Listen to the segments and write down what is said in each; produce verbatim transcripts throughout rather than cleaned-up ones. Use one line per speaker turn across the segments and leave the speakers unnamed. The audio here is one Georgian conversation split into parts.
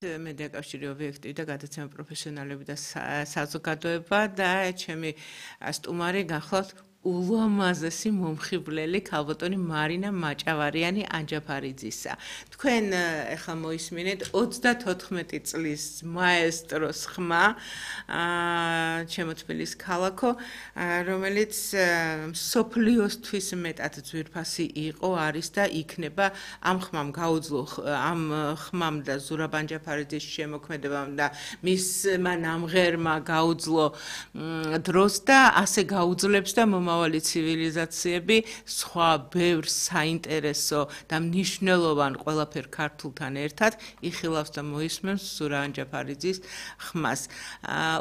მე დაკავშირი ობიექტივი და გადაცემა პროფესიონალები და საზოგადოება და ჩემი სტუმარი გახლავთ ულამაზესი მომხიბვლელი ქალბატონი მარინა მაჭავარიანი ანჯაფარიძისა. თქვენ ახლა მოისმინეთ ოცდათოთხმეტი წლის მაესტროს ხმა, ჩემო თბილის ქალაქო, რომელიც მსოფლიოსთვის მეტად ძვირფასი იყო, არის და იქნება ამ ხმამ გაუძლო ამ ხმამ და ზურაბ ანჯაფარიძის შემოქმედებამ და მისმა ნამღერმა გაუძლო დროს და ასე გაუძლებს და მომავალი ცივილიზაციები სხვა ბევრ საინტერესო და მნიშვნელოვან ყველაფერ ქართულთან ერთად იხილავს და მოისმენს ზურაბ ანჯაფარიძის ხმას.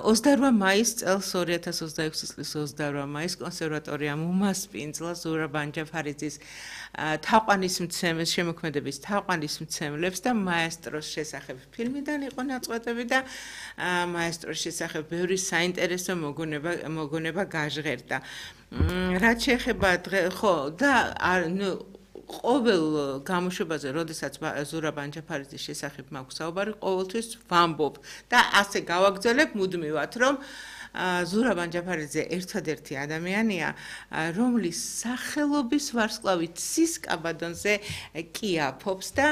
ოცდაორმა მაისს წელს ორი ათას ოცდაექვსი წლის ოცდაორმა მაისს კონსერვატორიამ უმასპინძლა ზურაბ ანჯაფარიძის თაყვანისმცემლის შემოქმედების თაყვანისმცემლებს და მაესტროს შესახებ ფილმიდან იყო ნაწყვეტები და მაესტროს შესახებ ბევრი საინტერესო მოგონება მოგონება გაჟღერდა. რაც შეეხება ხო და ნუ ყოველ გამოშვებაზე, როდესაც ზურაბ ანჯაფარიძის შესახებ მაქვს საუბარი, ყოველთვის ვამბობ და ასე გავაგრძელებ მუდმივად, რომ ზურაბ ანჯაფარიძე ერთადერთი ადამიანია, რომლის სახელობის ვარსკვლავი ცის კაბადონზე კი აფობს და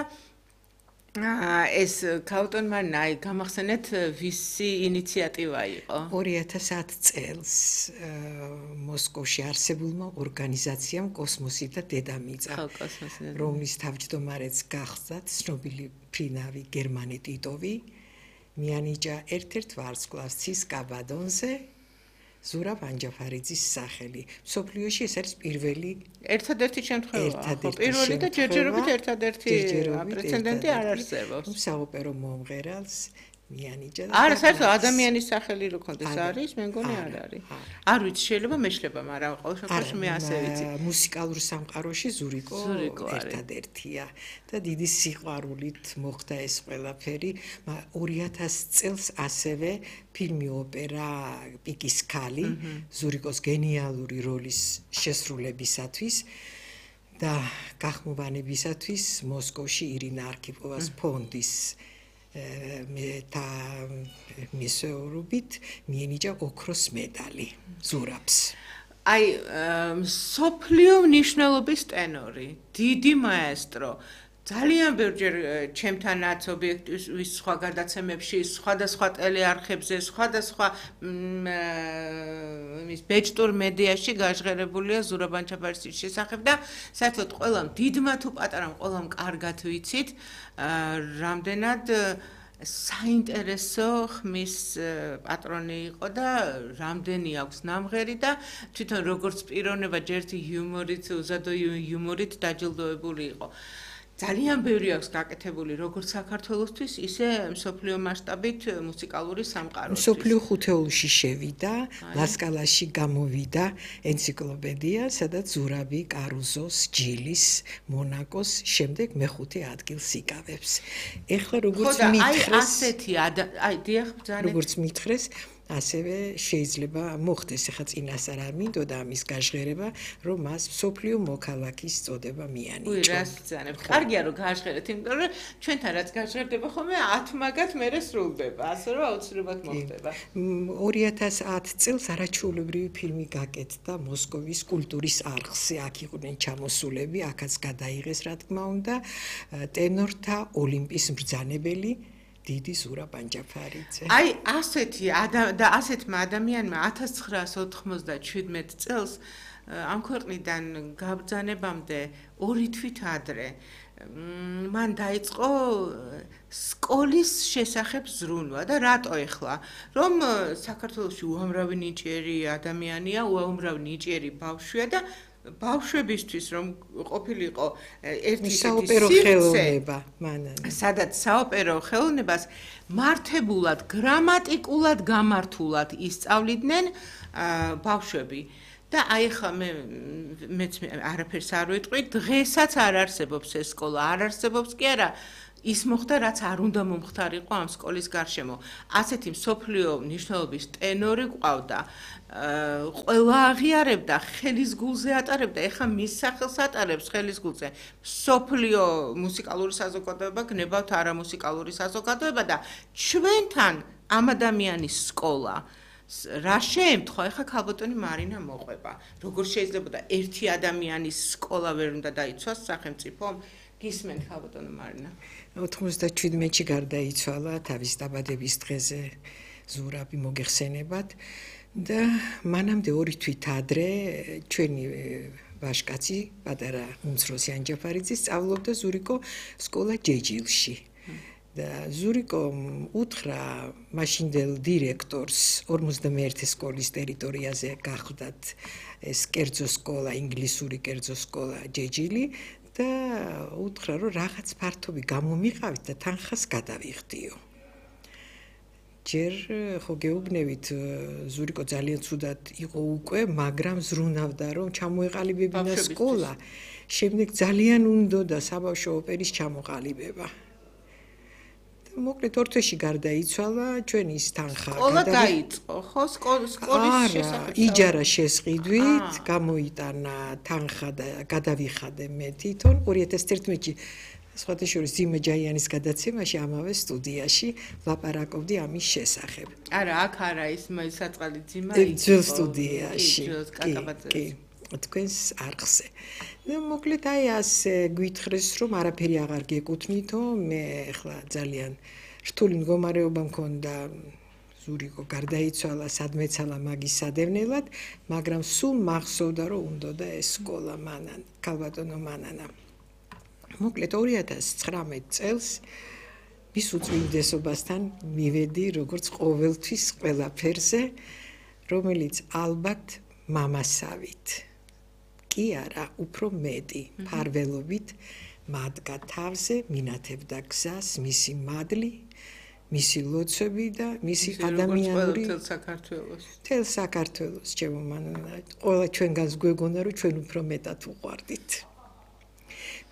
ეს ქალბატონ მარინა, აი გამახსენეთ ვისი ინიციატივა იყო?
ორი ათას ათი წელს მოსკოვში არსებულმა ორგანიზაციამ კოსმოსი და დედამიწა, რომლის თავმჯდომარეც გახსდათ ცნობილი ფრინავი გერმანე ტიტოვი, მიანიჭა ერთ-ერთ ვარსკვლავს ცის კაბადონზე ზურაბ ანჯაფარიძის სახელი. მსოფლიოში ეს არის პირველი
ერთადერთი შემთხვევაა. ხო, პირველი და ჯერჯერობით ერთადერთი პრეცედენტი არ არსებობს.
საოპერო მომღერალს მიანიჭა.
არა, საერთოდ ადამიანის სახელი რო ქონდეს არის, მე მგონი არ არის. არ ვიცი, შეიძლება მეშლება, მაგრამ ყოველ შემთხვევაში მე ასე ვიცი.
მუსიკალურ სამყაროში ზურიკო ერთადერთია და დიდი სიყვარულით მოხდა ეს ყველაფერი. ორი ათას წელს ასევე ფილმი ოპერა პიკის ქალი ზურიკოს გენიალური როლის შესრულებისათვის და გახმოვანებისათვის მოსკოვში ირინა არქიპოვას ფონდის და მისეურობით მიენიჭა ოქროს medali ზურაბს.
აი მსოფლიო მნიშვნელობის ტენორი, დიდი მაესტრო, ძალიან ბევრჯერ ჩემთანაც ობიექტივის სხვა გადაცემებში, სხვადასხვა ტელეარხებზე, სხვადასხვა იმის ბეჭდურ მედიაში გაჟღერებულია ზურაბ ანჯაფარიძის შესახებ და საერთოდ ყველამ დიდმა თუ პატარამ ყველამ კარგად ვიცით, რამდენად საინტერესო ხმის პატრონი იყო და რამდენი აქვს ნამღერი და თვითონ როგორც პიროვნება ჯერთი იუმორით, უზადო იუმორით დაჯილდოებული იყო. ძალიან ბევრი აქვს გაკეთებული როგორც საქართველოსთვის, ისე მსოფლიო მასშტაბით მუსიკალური სამყაროსთვის.
მსოფლიო ხუთეულში შევიდა, ლასკალაში გამოვიდა ენციკლოპედია, სადაც ზურაბი კარუზოს, ჯილის, მონაკოს შემდეგ მეხუთე ადგილს იკავებს. ეხლა როგორც მითხრეს,
აი ასეთი აი დიახ ბრძანეთ.
როგორც მითხრეს, ასევე შეიძლება მოხდეს ახლა წინასწარ არ მინდოდა ამის გაჟღერება, რომ მას მსოფლიო მოქალაქის წოდება მიანიჭა.
უი, რას ბრძანებთ? კარგია რომ გაჟღერეთ, იმიტომ რომ ჩვენთან რაც გაჟღერდება ხოლმე ათ მაგათ მერე სრულდება, ასე რომ აუცილებლად მოხდება.
ორი ათას ათი წელს არაჩვეულებრივი ფილმი გაკეთდა მოსკოვის კულტურის არხზე, აქ იყვნენ ჩამოსულები, აქაც გადაიღეს რა თქმა უნდა, ტენორთა ოლიმპის მბრძანებელი დიდი ზურაბ ანჯაფარიძე.
აი ასეთი და ასეთმა ადამიანმა ათას ცხრაას ოთხმოცდაჩვიდმეტ წელს ამ ქვეყნიდან გაბრძანებამდე ორი თვით ადრე მან დაიწყო სკოლის შესახებ ზრუნვა და რატო ეხლა? რომ საქართველოში უამრავი ნიჭიერი ადამიანია, უამრავი ნიჭიერი ბავშვია და ბავშვებისთვის რომ ყოფილიყო ერთი
საოპერო ხელოვნება მანან
სადაც საოპერო ხელოვნებას მართებულად გრამატიკულად გამართულად ისწავლიდნენ ბავშვები და აი ხა მე მეც არაფერს არ ვიტყვი დღესაც არ არსებობს ეს სკოლა არ არსებობს კი არა ის მოხდა, რაც არ უნდა მომხდარიყო ამ სკოლის გარშემო. ასეთი მსოფლიო მნიშვნელობის ტენორი ყავდა. ყველა აღიარებდა, ხელის გულზე ატარებდა, ეხლა მის სახელს ატარებს ხელის გულზე. მსოფლიო მუსიკალური საზოგადოება, გნებავთ არამუსიკალური საზოგადოება და ჩვენთან ამ ადამიანის სკოლა რა შეემთხვა, ეხლა ქალბატონი მარინა მოყვება. როგორ შეიძლებოდა ერთი ადამიანის სკოლა ვერ უნდა დაიცვას სახელმწიფომ? გისმენთ ქალბატონო მარინა?
ოთხმოცდაჩვიდმეტში გარდაიცვალა თავის დაბადების დღეზე ზურაბი მოგეხსენებათ და მანამდე ორი თვით ადრე ჩვენი ვაჟკაცი პატარა უმცროსი ანჯაფარიძე სწავლობდა ზურიკო სკოლა ჯეჯილში. და ზურიკო უთხრა მაშინდელ დირექტორს ორმოცდამეერთე სკოლის ტერიტორიაზე გახდათ ეს კერძო სკოლა, ინგლისური კერძო სკოლა ჯეჯილი და უთხრა რომ რაღაც ფართობი გამომიყავით და თანხას გადავიხდიო. ჯერ ხო გეუბნებით ზურიკო ძალიან ცუდად იყო უკვე, მაგრამ ზრუნავდა რომ ჩამოეყალიბებინა სკოლა. შემდეგ ძალიან უნდოდა საბავშვო ოპერის ჩამოყალიბება. მოკლედ ორ თვეში გარდაიცვალა, ჩვენი ის თანხა
სკოლა დაიწყო, ხო? სკოლის შესახებ.
იჯარა შესყიდვით, გამოიტანა თანხა და გადავიხადე მე თვითონ ორი ათას ერთმეტში სხვათა შორის ძიმა ჯაიანის გადაცემაში ამავე სტუდიაში ლაპარაკობდი ამის შესახებ.
არა, აქ არა ის საწყალი ძიმა
იყო. ძველ სტუდიაში.
კი,
თქვენს არხზე. და მოკლედ აი ასე გვითხრეს რომ არაფერი აღარ გეკუთვნითო, მე ახლა ძალიან რთული მდგომარეობა მქონდა, ზურიკო გარდაიცვალა, სადმეცალა მაგის სადევნელად, მაგრამ სულ მახსოვდა რომ უნდოდა ეს სკოლა მანან, ქალბატონო მანანა. მოკლედ ორი ათას ცხრამეტ წელს მის უწმინდესობასთან მივედი როგორც ყოველთვის ყველაფერზე, რომელიც ალბათ მამასავით კი არა, უფრო მეტი ფარველობით მადგა თავზე, მინათებდა გზას, მისი მადლი, მისი ლოცვები და მისი ადამიანური
თელ საქართველოს.
თელ საქართველოს, ჩემო მანანა, ყველა ჩვენგანს გვეგონა, რომ ჩვენ უფრო მეტად უყვარდით.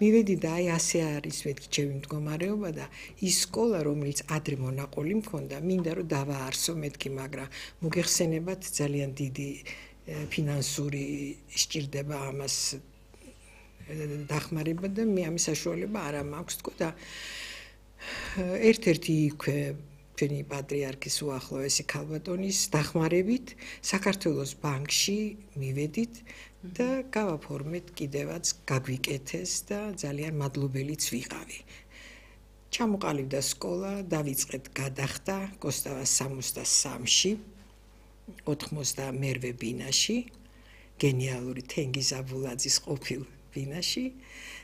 მივედი და აი ასე არის მეთქი ჩემი მდგომარეობა და ის სკოლა, რომელიც ადრე მონაყოლი მქონდა, მინდა რომ დავაარსო მეთქი, მაგრამ მოგეხსენებათ ძალიან დიდი ფინანსური სჭირდება ამას დახმარება და მე ამის საშუალება არა მაქვს თქო და ერთ-ერთი იქვე ჩვენი პატრიარქის უახლოესი ქალბატონის დახმარებით საქართველოს ბანკში მივედით და გავაფორმეთ კიდევაც გაგვიკეთეს და ძალიან მადლობელიც ვიყავი. ჩამოყალიბდა სკოლა, დავიწყეთ გადახდა კოსტავას სამოცდასამში. ოთხმოცდამერვე ბინაში, გენიალური თენგიზ აბულაძის ყოფილ ბინაში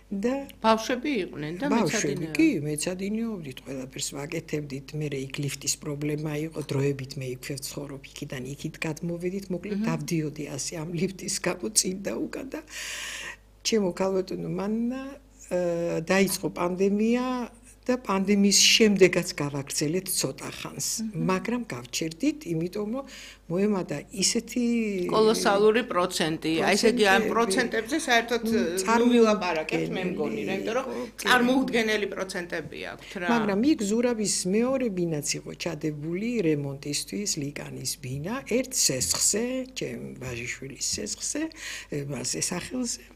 და
ბავშვები იყვნენ და მეცადინეობდნენ.
კი, მეცადინეობდით, ყველაფერს ვაკეთებდით, მე იქ ლიფტის პრობლემა იყო, დროებით მე იქ ვცხოვრობ, იქიდან იქით გადმოვედით, მოკლედ დავდიოდი ასე ამ ლიფტის გამო წინ და უკან და ჩემო ქალბატონო მანანა დაიწყო პანდემია და პანდემიის შემდეგაც გავაგრძელეთ ცოტა ხანს, მაგრამ გავჩერდით, იმიტომ რომ მოემადა ისეთი
კოლოსალური პროცენტი. აი ესე იგი ამ პროცენტებზე საერთოდ ნუ ვილაპარაკებთ მე მგონი, იმიტომ რომ წარმოუდგენელი პროცენტები აქვთ რა.
მაგრამ იქ ზურაბის მეორე ბინაც იყო ჩადებული რემონტისთვის, ლიკანის ბინა, ერთ სესხზე, ჩემ ვაჟიშვილის სესხზე, მასე სახელზე.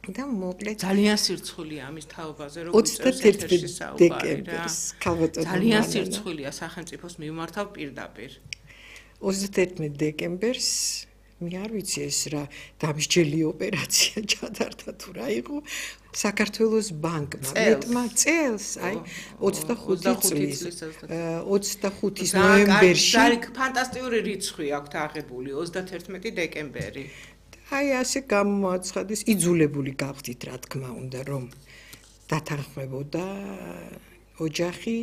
და მოკლედ
ძალიან სირცხვილია ამის თაობაზე, როგორც
ოცდაერთი დეკემბერს ქალბატონო
ძალიან სირცხვილია სახელმწიფოს მიმართავ პირდაპირ.
ოცდაერთი დეკემბერს მე არ ვიცი ეს რა დამსჯელი ოპერაცია ჩატარდა თუ რა იყო საქართველოს ბანკმა მეტმა წელს აი ოცდახუთი წლის ოცდახუთის ნოემბერში
ძალიან ფანტასტიკური რიცხვი აქვთ აღებული ოცდაერთი დეკემბერი.
აი ასე გამოაცხადეს, იძულებული გავხდით რა თქმა უნდა რომ დათანხმებოდა ოჯახი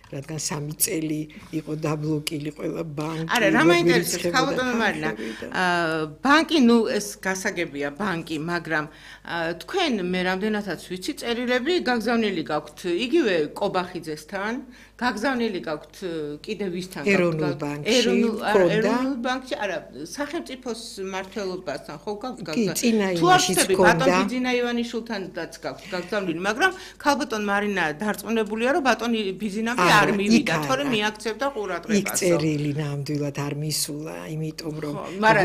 რადგან სამი წელი იყო დაბლოკილი ყველა ბანკი.
არა, რა მაინტერესებს, ხალხო მარინა. ბანკი, ნუ ეს გასაგებია ბანკი, მაგრამ თქვენ მე რამდენადაც ვიცი, წერილები გაგზავნილი გაქვთ იგივე კობახიძესთან, გაგზავნილი გაქვთ კიდე ვისთან გაქვთ?
ეროვნულ ბანკში,
ეროვნულ ბანკში, არა, სახელმწიფოს მმართველობასთან ხო გაქვთ გაგზავნილი?
კი, წინა
თუ
იმაშიც
ახსნები,
ჰქონდა.
ბატონ ბიძინა ივანიშვილთანაც გაქვთ გაგზავნილი, მაგრამ ქალბატონ მარინა დარწმუნებულია, რომ ბატონ ბიძინამი არ მივიდა, თორემ მიაქცევდა ყურადღებას.
იქ წერილი ნამდვილად არ მისულა, იმიტომ რომ
მაგრამ